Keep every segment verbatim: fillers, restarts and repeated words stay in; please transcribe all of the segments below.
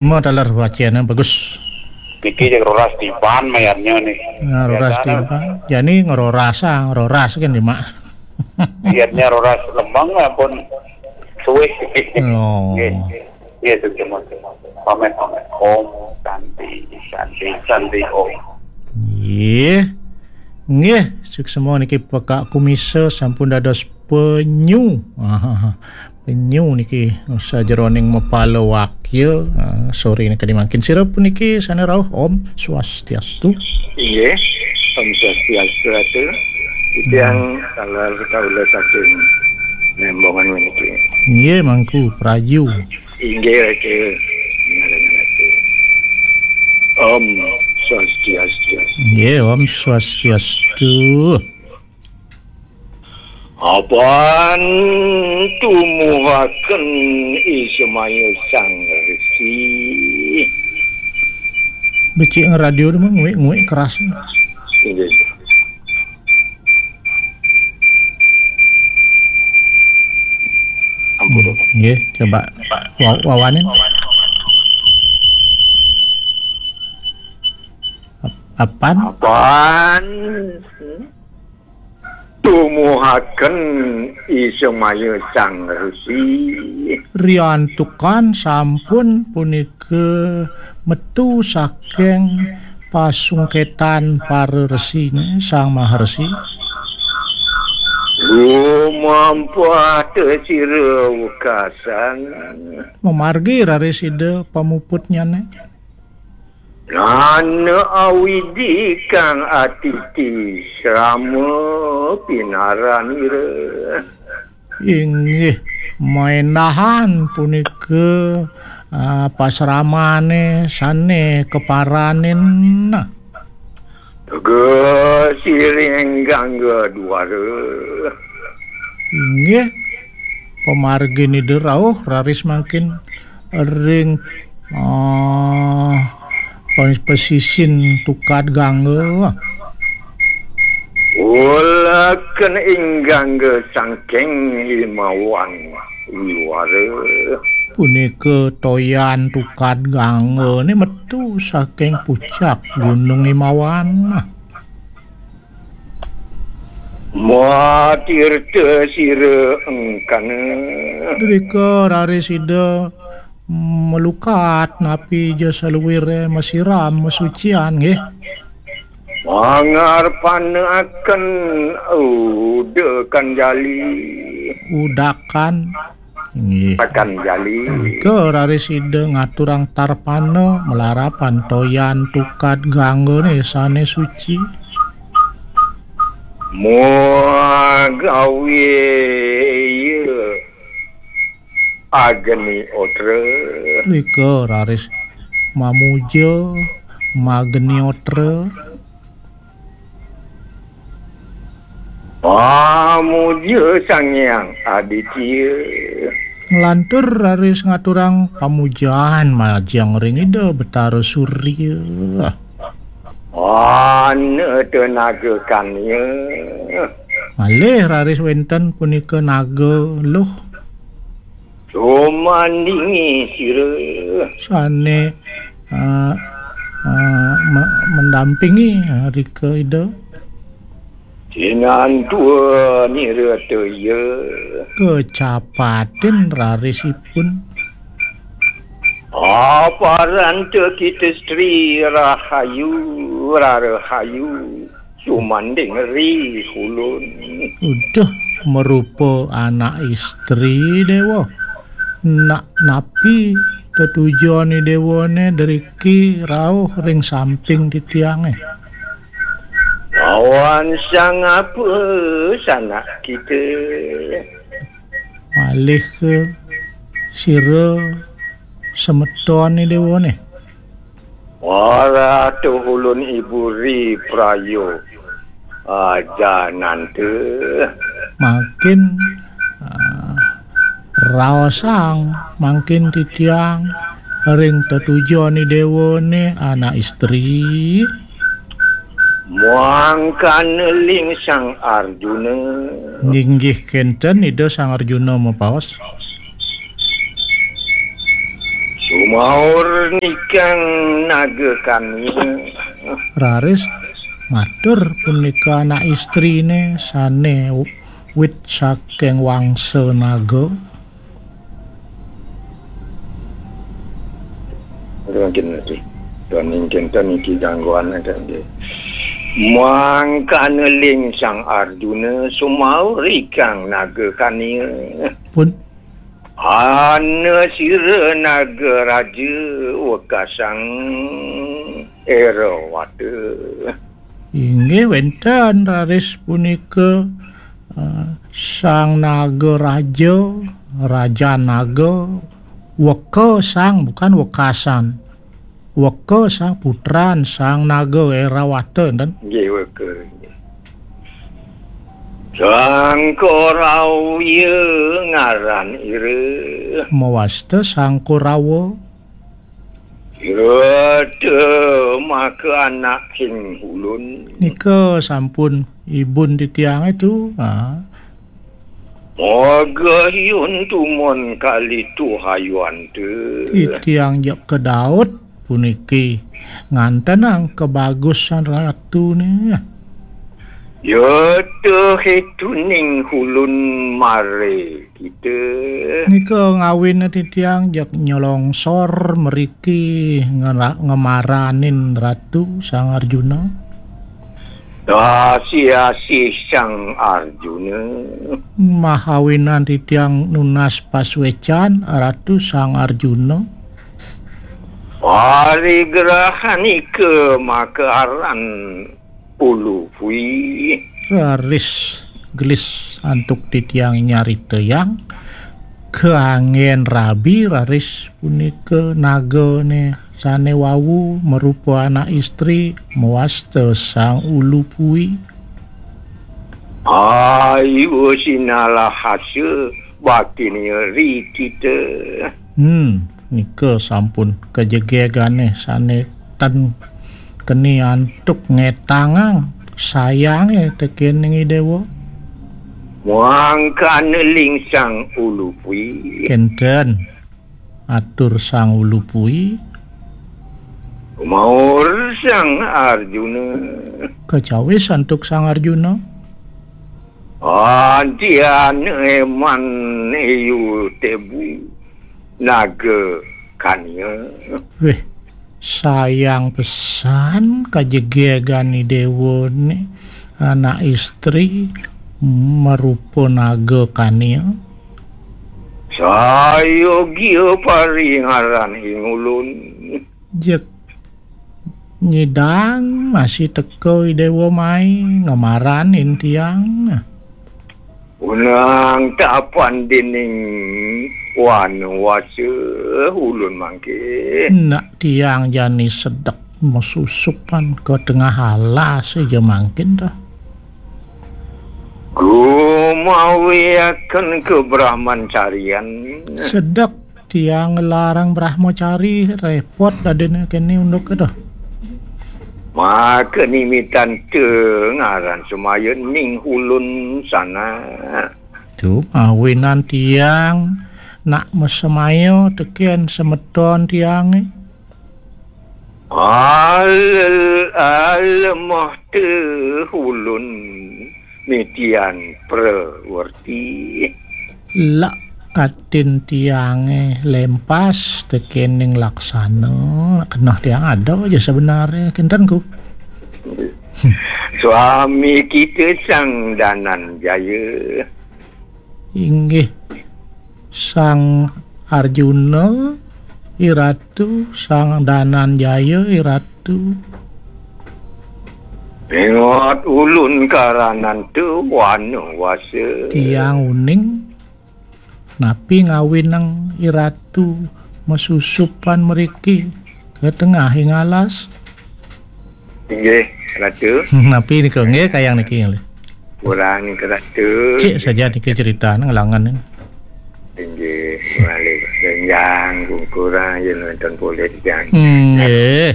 Mo taler wacana bagus. Niki jeg roras tiban mayarnya nih. Nah, roras tiban. Jani ngeroras, ah, ngeroras kan, Mak. Mayarnya roras lembang ampun suwih. Oh. Nggih. Nggih, suksma. Pamit, pamit. Om Santi, Santi, Santi Om. Nggih. Nggih, suksma niki Pekak Kumisa sampun dados penyu. Penyu niki sajeroning mapala wakya. Ah, sore niki mangkin sira puniki sane rauh. Om Swastiastu. Inggih, Om Swastiastu, Ratu. Titiang taler kaula saking Nembongan puniki. Inggih, Mangku Prayu. Inggih, Ratu. Om Swastiastu. Inggih, Om Swastiastu. Apan tumuhaken Ismaya Sang Resi. Becik radio tu mah nguik-nguik keras. Inggih. Ampun. Nggih, coba wa-, wawanin. Ap-, apan? Apan? Tumuhaken Ismaya Sang Resi. Riantukan sampun punika metu saking pasungketan para resine Sang Maharesi. Lumampah te sira wekasan. Mamargi raris Ida pamuputnyane. Nana awidi kang atiti srama pinaranira. Inggih, maendahan punika, ah, pasramane sane kaparanin. Teges siring gangga duara. Inggih, pamargin Ida rauh raris mangkin ring, ah, pes-, pesisin tukad gangga. Uleken ing gangga saking himawan wiwara. Punika toyan tukad ganggane metu saking pucak Gunung Himawan. Matirta sira engkana. Drika raris Ida melukat napi ja saluire masiram masucian nggih. Mangarpana akan udakan jali. Udakan. Nggih. Akan jali. Ke raris Ida ngaturang tarpana malarapan toyan tukad ganggane sane suci. Muagawi iya agni otra. Rika raris mamuja magni otra. Pamuja Sang Hyang Aditya. Nglantur raris ngaturang pamujan majeng ring Ida Betara Surya. Ana tenaga kanya. Malih raris wenten punika naga luh. Sumandingi sira. Sane, eh, eh, me-, mendampingi, eh, rika Ida. Sinantua nirata iya. Kecapatin rarisipun. Aparanta kita stri rahayu, rarahayu. Sumanding ri ulun. Uduh, marupa anak istri, Dewa. Nak napi tetujon i Dewane driki rauh ring samping titiange? Lawan sangapa sanak kita? Malih ke sira semeton i Dewane? Waratuh ulun ibu ri prayo ajananta. Mangkin, ah, raosang mangkin titiang ring tetujon i Dewane anak istri. Muangkana ling Sang Arjuna. Nginggih kenten Ida Sang Arjuna mapaos. Maur nikang naga kania. Raris matur punika anak istrine sane wit saking wangsa naga. Mungkin niki. Tuan ingkenten niki gangguan kan nggih. Mangkana ling Sang Arjuna sumaur ikang naga kania. Pun. Ana sira naga raja wekasang Erawata. Inggih wenten raris punika, eh, Sang Naga Raja, Raja Naga, weka sang, bukan wekasan. Weka sang putran Sang Naga Erawata, enten. Nggih, weka. Sang Korawa ngaran ira. Mawasta Sang Korawa. Ira te maka anak ing ulun. Nika sampun ibun titiang itu, ha. Moga hiun tumon kali tuhayuan te. Titiang jak kedaut puniki ngantenang kebagusan ratune. Ya te hituning ulun mare kita. Nika ngawin titiang jak nyolongsor mriki ngera-, ngemaranin Ratu Sang Arjuna. Asih-asih Sang Arjuna. Mahawinan titiang nunas pasuecan Ratu Sang Arjuna. Parigrahanika maka aran Ulu Pui. Raris gelis antuk titiang nyaritayang kaanggen rabi raris punika nagane sane wau marupa anak istri mawasta Sang Ulu Pui. Ayu sinalahasa bakti niri kita. Hmm, nika sampun kajegegane sane tan keni antuk ngetangang sayange tekening Idewa. Mangkana ling Sang Ulu Pui. Kenten atur Sang Ulu Pui. Maur Sang Arjuna. Kacawis antuk Sang Arjuna. Antian eman iu tebu naga kania. Weh, sayang pesan kajegegan Idewa ni anak istri marupa naga kania. Sayogia paringaran ing ulun. Jek nyidang masih teka Idewa mai ngemaranin tiang. Unang tapan dening wanuwasa ulun mangke. Nak tiang jani sedek masusupan ka tengah alas ija mangkin dah. Gumawiaken ka Brahmancarian. Sedek tiang nglarang Brahmacari, repot dadine kene unduk kedah. Maka nimitan te ngaran semaya ning ulun sana. Tu mawinan tiang nak masemaya teken semeton tiange. Al-, alemah te ulun mitian prawerti. Lak atin tiange lempas tekening laksana, keneh tiang ada aja sebenarnya, kinten ku. Suami kita Sang Dananjaya. Inggih, Sang Arjuna, Iratu, Sang Dananjaya, Iratu. Ingat ulun karanan tu wanu wasa. Tiang uning, napi ngawinang Iratu masusupan mriki ka tengahing alas? Inggih, Ratu. Napi nika nggih kayang niki nggih? Kurang nika, Ratu. Cik saja niki cerita ngelangan ni. Inggih, malih renjang kungkurang yen wonten polih titiang. Nggih.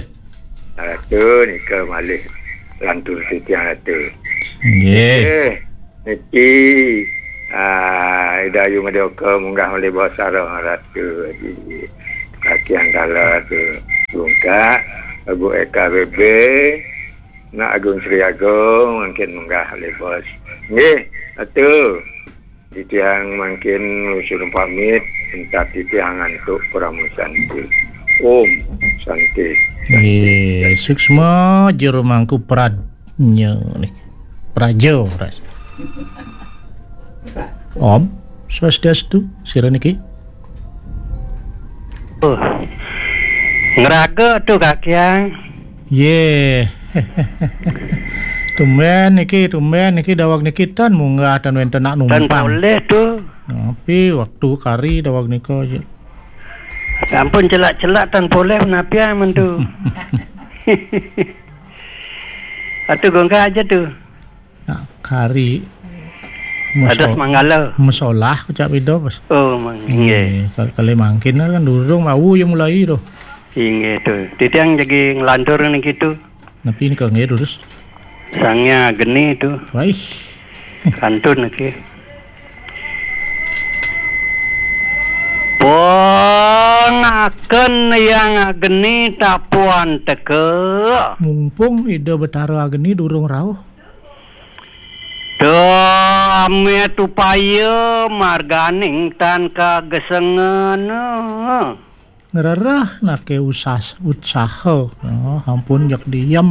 Ratu nika malih lantur titiang, Ratu. Nggih. Nggih. Niki, ah, Ida Ayu Madyoka munggah malih basa Ratu. Nggih. Aki Anggala tu bungkak, Abu Eka B B, nak Agung Sri Agung, mungkin munggah oleh bos. Nggih, atu. Titiang mangkin ngluncur pamit, entah titiang antuk Parama Santi. Om Santi. Nggih, suksma jero mangku pradnya nih. Praja, pras. Om Swastiastu, sira niki. Oh. Ngraga tu, Kakiang. Yeh. Tumben niki, tumben niki daweg niki tan munggah tan wenten nak numpang. Tan poleh tu. Tapi waktu kari daweg nika je. Ampun celak-celak tan poleh napi amen tu. Atu gongka aja tu. Nak kari. Atas Manggala. Mesolah kecak beda, Bos. Oh, mang-, nggih. Nggih, kal-, kali mangkin kan durung wau ya mulai tu. Inggih tu. Titiang jagi nglantur niki tu. Napi nika nggih, durus? Sangnya geni tu. Waih. Kantun niki. Pangaken yang geni tapuan teka. Mumpung Ida Betara Ageni durung rauh. Damit upaya marganing tan kagesengan. Ngrereh nake usas-, utsaha, no, ampun jak diem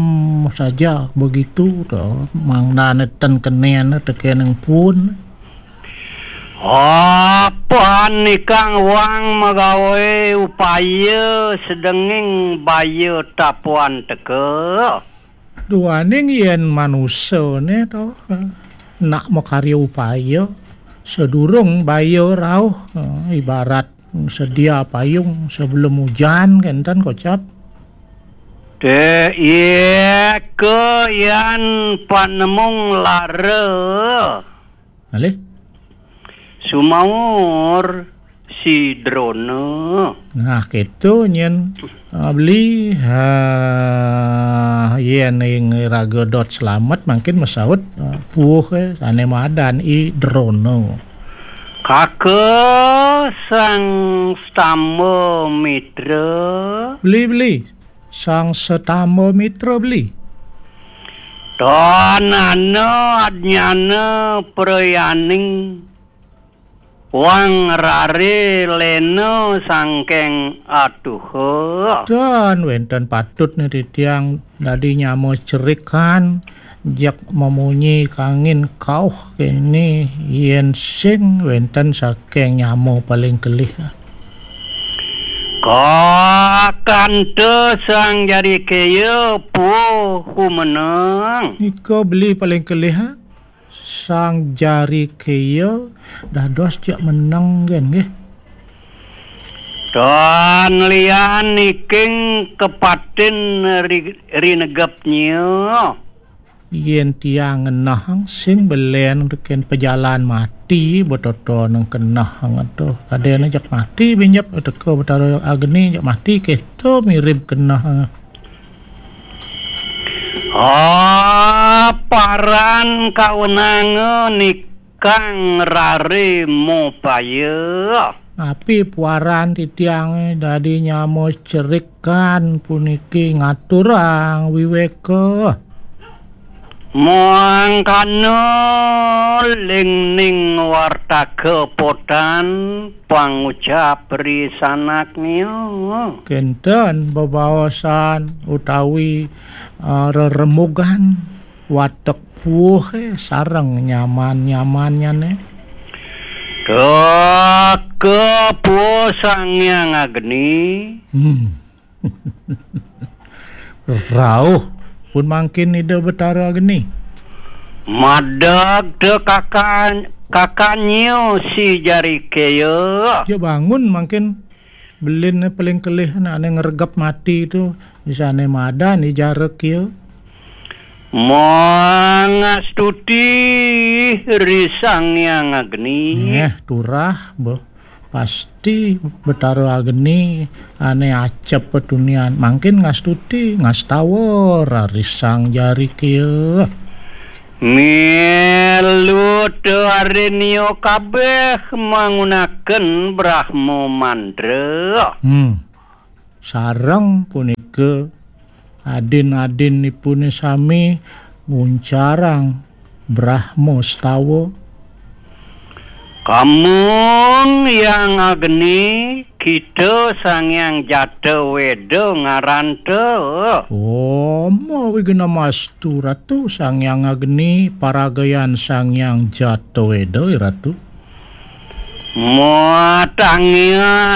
saja begitu, to. Mangdane ten kenen teken pun. Apan ikang wang magawe upaya sedenging baya tapuan teka. Duaning yen manusa ne to, nak makarya upaya, sedurung baya rauh, ibarat sedia payung sebelum ujan, kenten kocap. Te, iya ke yan panemung lara. Alih? Sumaur si Drona. Nah, keto nyen, ah, beli, ah, yen ing raga dot selamet mangkin mesaut, ah, puuh, eh, sane madan i Drona. Kaka sang stamba mitra. Beli, beli. Sang setamba mitra beli. Tanana adnyana prayaning wang rare lena sangkeng atuha. Dan wenten patut ni titiang dadi nyama cerikan jak memunyi kangin kauh kene yen sing wenten saking nyama paling kelih. Kakanta sang jari kaya puh humeneng. Nika beli paling kelih, ha? Sang jari kaya dados jak meneng gen nggih. Tan lian niking kepatin ri-, rinegepnya. Yen tiang ngenah sing belen teken pejalan mati, betoto nang kenah ngeto. Kadene jak mati binjep teka Betara Ageni jak mati keto mirip kenah. Ah, paran kawenanga nikang rare mopaya. Napi puaran titiange dadi nyama cerikan puniki ngaturang wiweka? Mangkana lingning wartaka potan pangucap risanaknya. Kenten bebaosan utawi, eh, reremugan watek puuhe sareng nyaman-nyamannyane. Kaka puuh Sang Hyang Ageni. Hmm. Rauh pun mangkin Ida Betara Ageni. Madeg te kakan-, kakannya si jari kaya. Ja bangun mangkin belin paling kelih nak ane ngregep mati tu, isane madan i jara kia. Mangastuti ri Sang Hyang Ageni. Eh, turah, boh. Pasti Betara Ageni ane acep petunian. Mangkin ngastuti, ngastawa, rarisang jari kia. Milu te arinio kabeh mangunaken Brahma mantra. Hmm. sareng punika adin-adinipune sami nguncarang Brahma Stawa. Kamung Hyang Agni, kita Sang Hyang Jata Weda ngaranta. Om Wignamastu Ratu. Sang Hyang Agni paragayan Sang Hyang Jata Weda, Ratu. Matangian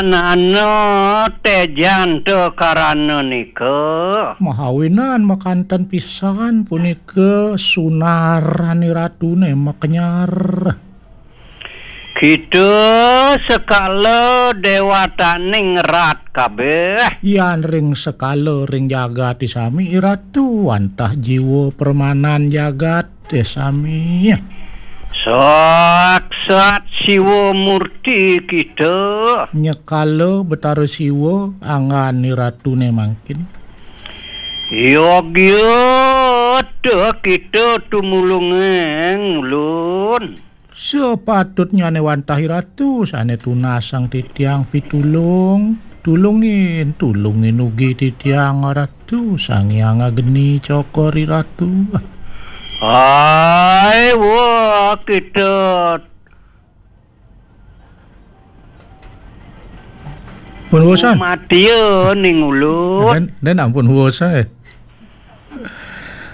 ana tejanta karana nika. Mahawinan makanten pisan punika sunaran Ratune makenyar. Kita sekala dewataning rat kabeh. Yan ring sekala ring jagati sami, Ratu, wantah jiwa permanan jagat, eh, sami. Saksat Siwa Murti kita. Nyekala Betara Siwa anggan Ratune mangkin. Yogya ta kita tumulungeng ulun. Sepatutnyane wantah Ratu sane tunasang titiang pitulung. Tulungin, tulungin ugi titiang Ratu, Sang Hyang Agni cokor Ratu. Ai, wah, kita pun bosan. Matia ning ulun. Dan, dan ampun bosan, eh.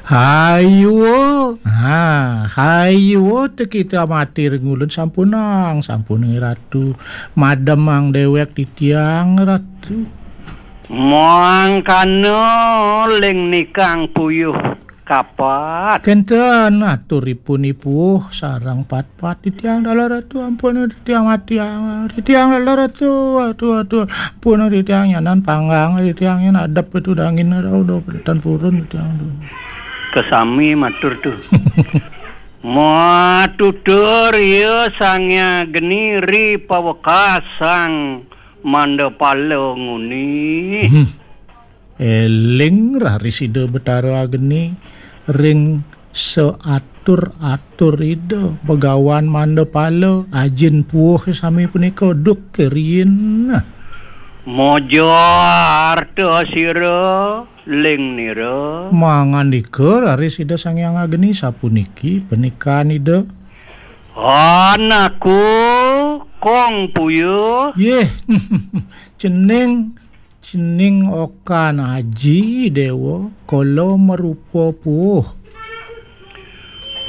Hayo, ha, hayo te kita mati ring ulun sampunang, sampunang Ratu. Mademang dewek titiang Ratu. Mangkana ling nikang puyuh kapat. Kenten aturipun ipuh sareng pat Pat titiang dalar Ratu, ampun titiang matiang, titiang dalar Ratu, aduh, aduh, ampun titiang nyanan panggang, titiang nyan adep itu dangin, aduh, udah pedetan purun titiang, aduh. Kesami matur tuh. Matutur iya Sang Agni ri pawekas Sang Mandapala nguni. Hmm. Eling raris Ida Betara Agni ring saatur-atur Ida Begawan Mandapala, ajin puuh sami punika duk keriin. Mojo arta sira, ling nira. Mangandika raris Ida Sang Hyang Agni sapuniki panikan Ida. Anakku kong puyuh. Yeh, cening Cening okan aji Dewa, kala marupa puuh.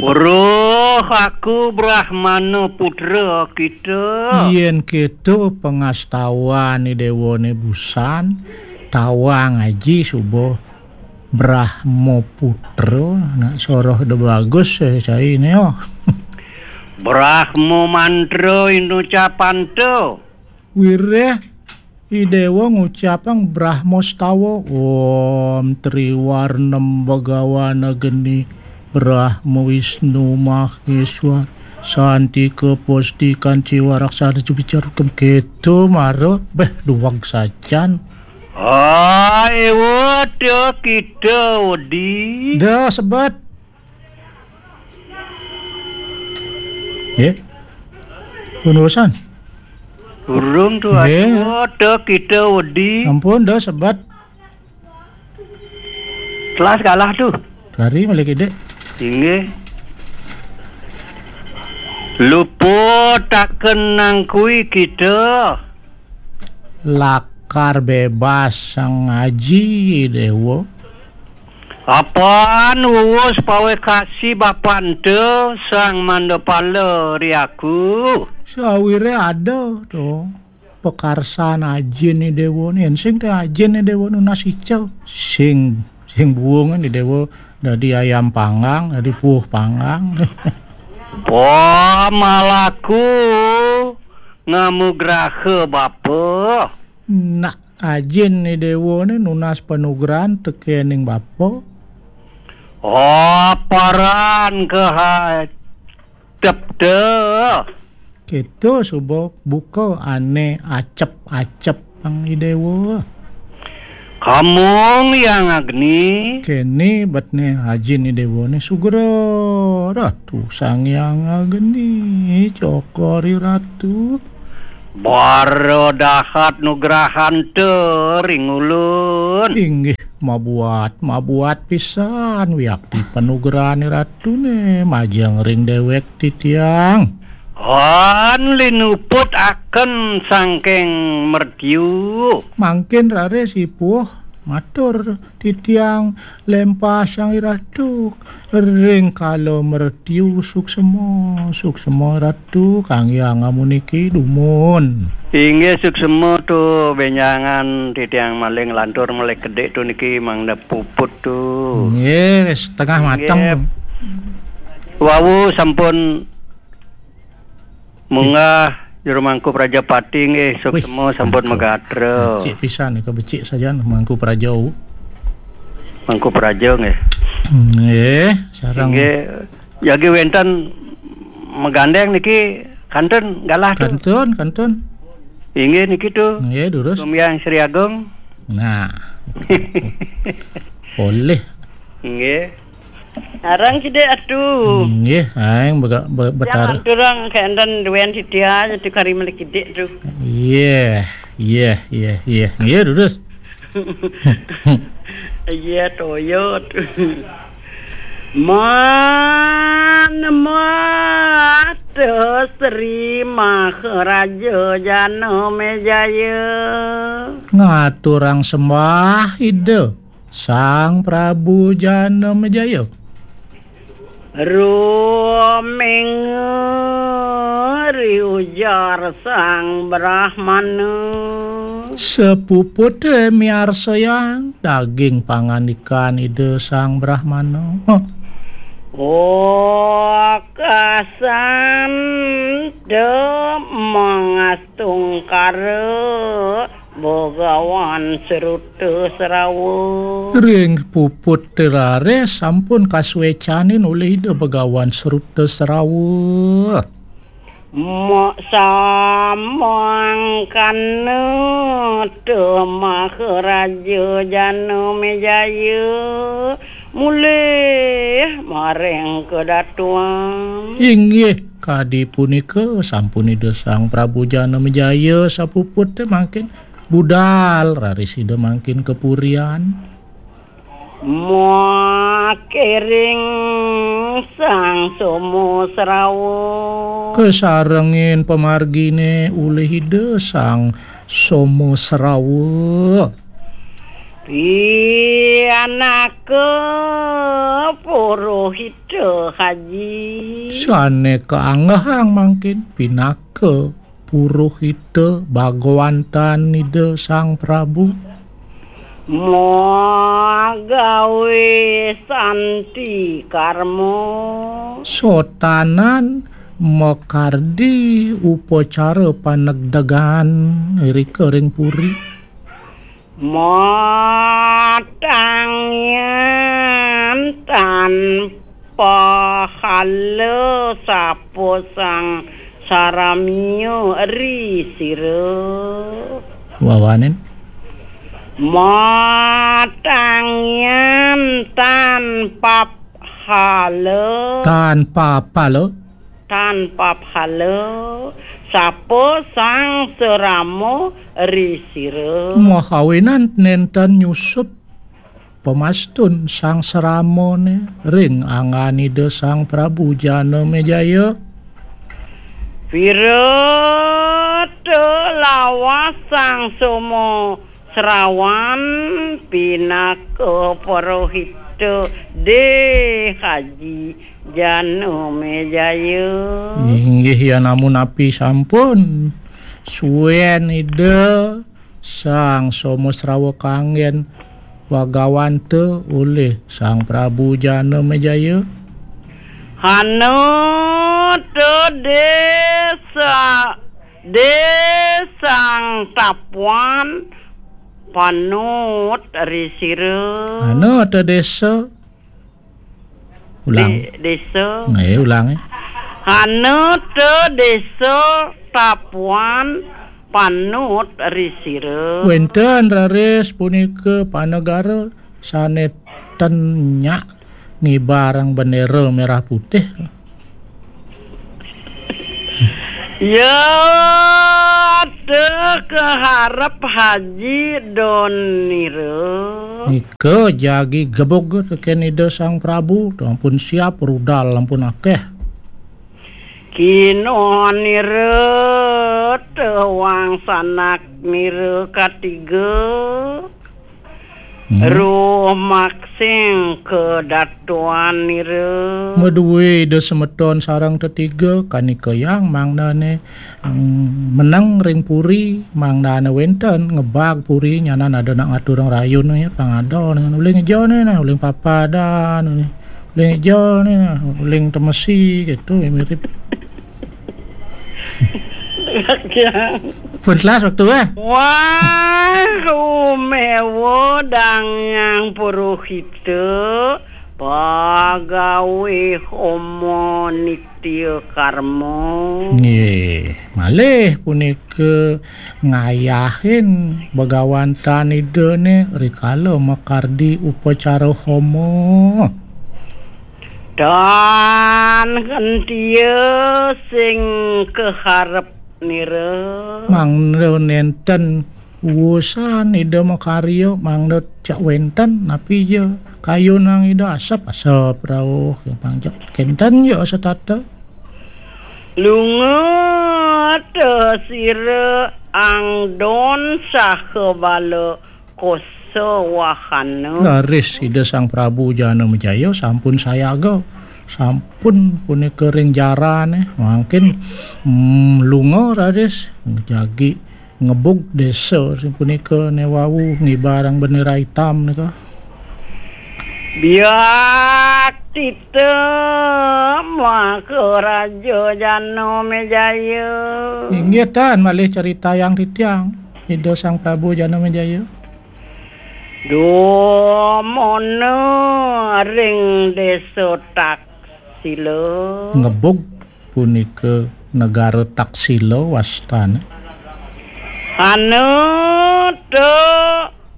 Weruh aku Brahmana putra kita. Yen keto pangastawan Dewane busan, tawang aji suba Brahma putra, nak soroh da bagus, eh, cai ne, oh. Brahma mantra inucapanta. Wireh I Dewa ngucapang Brahma stawa, Om Triwarnem Bhagawana Geni, Brahma Wisnu Maheswar, Santika Postikan Ciwa Raksana Jubicar Kem keto mara, beh, duweg sajan. Ai, wada kita wedi. Dah, sebet. Nggih. Pun bosan? Durung tuh, nggih. Aduh, ada kita wedi. Ampun, dah sebat. Telas kalah tuh. Lari balik ide. Inggih. Luputaken nang kui kita. Lakar bebas Sang Aji Dewa. Apan wuwus pawekasi bapante Sang Mandapala ri aku. Sawire ada to. Pakarsan ajin I Dewa ni, sing te ajin I Dewa nunas ica. Sing, sing buung I Dewa dadi ayam panggang, dadi puuh panggang. Pamalaku ngamugraha bapa. Nak ajin I Dewa ni nunas panugrahan tekening bapa. Aparan kahadep te. Keto suba buka ane acep-acep ang I Dewa. Kamung Hyang Agni. Kene betne ajin I Dewa ni sugra Ratu Sang Hyang Agni, cokor I Ratu. Bara dahat nugrahanta ring ulun. Inggih, mabuat, mabuat pisan wiakti panugrahan Ratuné majeng ring déwék titiang. An linuput aken sangking mertiu. Mangkin raris ipuh matur titiang lempah Sang Ratu ring kala mertiu suksema, suksema Ratu kang hyang amuniki dumun. Inggih suksema tu bénjangan titiang malih lantur malih kedik tu niki mangda puput tu. Nggih, setengah mateng. Nggih. Wau sampun munggah Juru Mangku Prajapati nggih, suksema sampun magatra. Becik pisan nika, becik sajan Mangku Praja. Mangku Praja nggih. Nggih, sareng. Nggih, jagi wénten magandéng niki kantun galah tu. Kantun, kantun. Inggih niki tu. Nggih, durus. Kumyang Sri Agung. Nah. Polih. Nggih. Arang kidik atu. Nggih, aing bega-, be-, betara. Jangan turang kayak enten duén titiang tu kari meli kidik tu. Iya, iya, iya, iya. Nggih, durus. Iya, toyo tu. Man mata Sri Maharaja Janamejaya. Ngaturang sembah Ida Sang Prabu Janamejaya. Ruming ri ujar Sang Brahmana. Sapupute miarsayang daging pangandikan Ida Sang Brahmana. Wakasan de mangastungkara Bagawan Sruta Srawa. Ring puput raris sampun kasuécanin olih Ida Bagawan Sruta Srawa. Mak samangkana te Maharaja Janamejaya mulih maring kedatuan. Inggih, kadi punika sampun Ida Sang Prabu Janamejaya sapuput té mangkin budal raris Ida mangkin kapurian. Makiring Sang Soma Srawa. Kasarengin pamarginé ulih Ida Sang Soma Srawa. Pianaka Purohita Haji. Sané kaanggehang mangkin pinaka Purohita Bagawantan Ida Sang Prabu. Magawé santi karma. Sotanan makardi upacara panegdegan irika ring puri. Matangyan tan pahala sapa sang saramya ri sira. Wawanin. Matangyan tan pap hala. Tan papala. Tan papala. Sapa sang sarama ri sira. Mahawinan nénten nyusup pamastun sang saramané ring anggan Ida Sang Prabu Janamejaya. Pirata lawas Sang Soma Srawan pinaka Purohita Dé Haji Janamejaya. Inggih, yan amunapi sampun suén Ida Sang Soma Srawa kanggén Bagawanta olih Sang Prabu Janamejaya. Hana ta désa, désang tapuan panut ri sira. Hana ta désa. Ulang. Dé-, désa. Nggih, ulang, eh. Hana ta désa tapuan panut ri sira. Wénten raris punika panegara sané ten nyak ngibarang bendera merah putih. Ya, teu keharep Haji Don nira. Nika jagi gebug tekén Ida Sang Prabu, ampun siap rudal, ampun akéh. Kinoh nira teuang sanak nira katiga. Hmm. Ruh maksing kadatuan nira. Madué Ida semeton sareng tetiga, kanika yang mangdané, mm, meneng ring puri, mangdané wénten ngebag puri, nyanan ada nak ngaturang rayun, ya, pang ada, uling eja né, nah, uling papadan, uling eja né, nah, uling temesi, gitu, ya, mirip. Pun telas waktu, eh. Wah, umewa dang yang puruhita, pagawé homo nitya karma. Nggih, malih punika ngayahin begawan tan Ida né rikala makardi upacara homo. Tan kentia sing keharep nira. Mangda nénten wusan Ida makarya, mangda cak wénten, napi ja kayunang Ida asep-asep rauh, pang cak kénten ja setata. Lunga ta sira angdon saha bala kosa wahana. Raris Ida Sang Prabu Janamejaya sampun sayaga. Sampun punika ring jarané, mangkin, mm, lunga raris jagi ngebug désa punika né wau ngibarang bendera itam nika. Biak tita Maharaja Janamejaya. Inggih tan malih caritayang titiang, Ida Sang Prabu Janamejaya. Dumuna ring désa Taksila. Ngebug punika negara Taksila wastané. Anu tu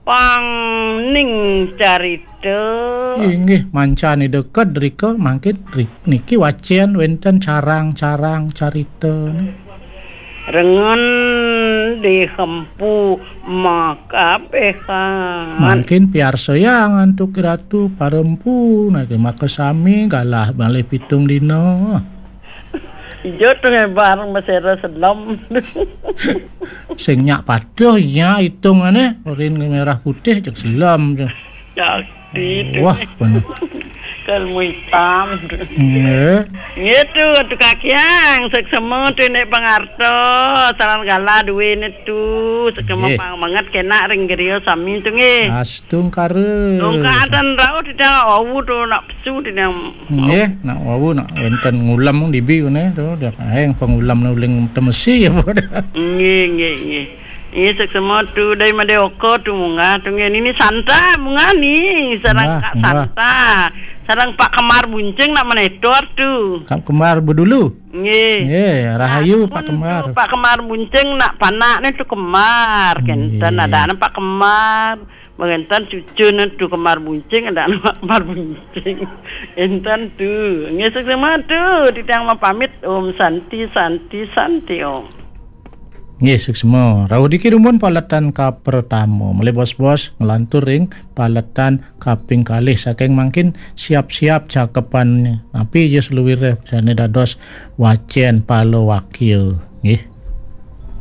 pangning carita. Inggih, mancan Ida kedrika mangkin ri-, niki wacén wénten carang-carang carita. Rengen dihempu makabéhan. Mangkin piarsayang antuk Ratu parempu, niki makasami galah malih pitung dina. Ijo tu ngebar mesera selem. Sing nyak patuh nya itungané, urin merah putih cek selem tu. Cakti tu. Wah, bener. Kalmu hitam tu. Nggih. Nggih tu, tu kakiang, seksema tu nek pangarta, saran gala duwe ne tu, seksema pang banget kena ring griya sami tu nggih. Astungkara. Tungkadan rauh tidak awu tu nak pesu tidak. Nggih, nak wau nak wénten ngulem dibi kene tu, dah kaeng pengulem uling temesi apa dah. Nggih, nggih, nggih. Nggih, seksema tu dai made oko tu munggah tu nggih. Nini Santa munggah ni, sareng Kak Santa. Sareng Pak Kemar Bunceng nak menetor tu. Kak Kemar bedulu. Nggih. Nggih, rahayu Pak Kemar. Pak Kemar Bunceng nak panak ni tu Kemar. Kenten ada anak Pak Kemar. Mengenten cucun tu Kembar Buncing, ada anak Kembar Buncing. Enten tu. Nggih, suksma tu. Titiang mapamit. Om Santi, Santi, Santi Om. Nggih, suksma. Rauh diki dumun paletan kapertama. Malih bos-bos nglantur ring paletan kaping kalih. Saking mangkin siap-siap cakepan napi ja seluwir sane dados wacen palawakya. Nggih.